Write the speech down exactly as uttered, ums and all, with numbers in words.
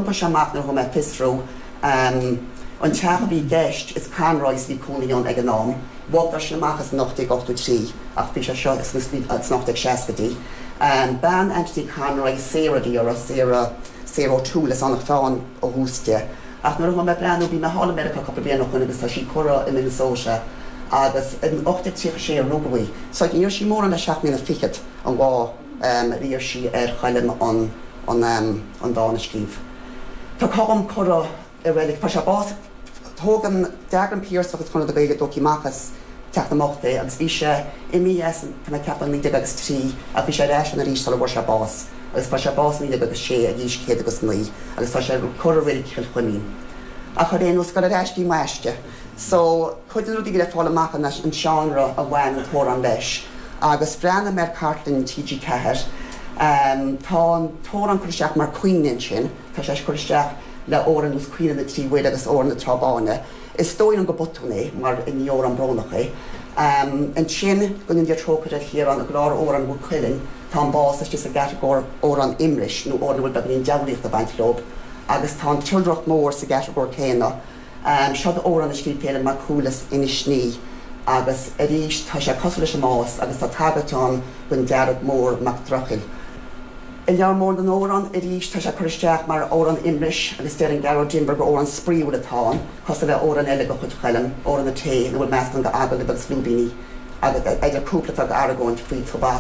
D'iompaigh sé amach nuair a chuaigh mé ag fiosrú an teach a bhí i gceist, is Conroys a bhí cónaí ann ag an am. Bhogadar sin amach as in ocht déag ochtó trí ach bhí sé seo sna ocht déag seascaidí. Bean Anthony Conroy, Sarah a bhí uirthi, Sarah, Sarah O'Toole as Anach Mheáin ó thús di. Ach nuair a chuaigh mé ag breathnú, bhí mé thall i Meiriceá cúpla bliain ó shoin agus tá sí curtha i Minnesota agus in ocht déag tríocha sé a rugadh í. So ní raibh sí mórán le seacht mbliana fichead an lá ar iarr sí ar Choilm an an dán a scríobh. Tá Colm curtha i reilig, fuair sé bás, thóg an, d'eagraigh an Piarsach agus Conradh na Gaeilge tógtha amach as Teach na mBocht é agus bhí sé imithe as, tá mé ag ceapadh, naoi déag agus trí ach bhí sé ar ais ann arís sula bhfuair sé bás agus fuair sé bás i naoi déag agus sé ag aois céad agus naoi agus tá sé curtha i reilig Chill Chuimín. Ach ar aon nós, ag dul ar ais go dtí m'aiste. So, cuid de na rudaí a bhí le fáil amach ná an seánra a bhain an t-amhrán leis agus bhreathnaigh mé ar chartlann T G ceathair. Tá an t-amhrán curtha isteach mar caoineadh ansin, tá sé curtha isteach le amhrán ar nós Caoineadh na dTrí Mhuire agus Amhrán na Trá Báine. Is dóigh liom gur botún é mar ní amhrán brónach é. Ansin, go ndéana Dia trócaire ar Chiarán, i gclár Amhrán Mhaigh Cuilinn, tá an bás istigh sa gcatagóir amhrán imris nó amhrán a bhfuil beagáinín diabhlaíochta ag baint leo agus tá an tIoldrach Mór sa gcatagóir céanna. Seo amhrán a scríobh Féilim Mac Cumhaill as Inis Ní agus arís tá sé cosúil leis an mbás agus tá tagairt ann don Dearg Mór Mac Droichil. I Leabhar Mór na nAmhrán arís tá sé curtha isteach mar amhrán imris agus deireann Gearóid Denvir gur amhrán spraíúil atá ann, cosúil le amhrán eile de chuid Choilm, Amhrán an Tae, ina bhfuil meascán d'agallaimh agus lúibíní agus idir cúpla atá ag argóint faoi tobac.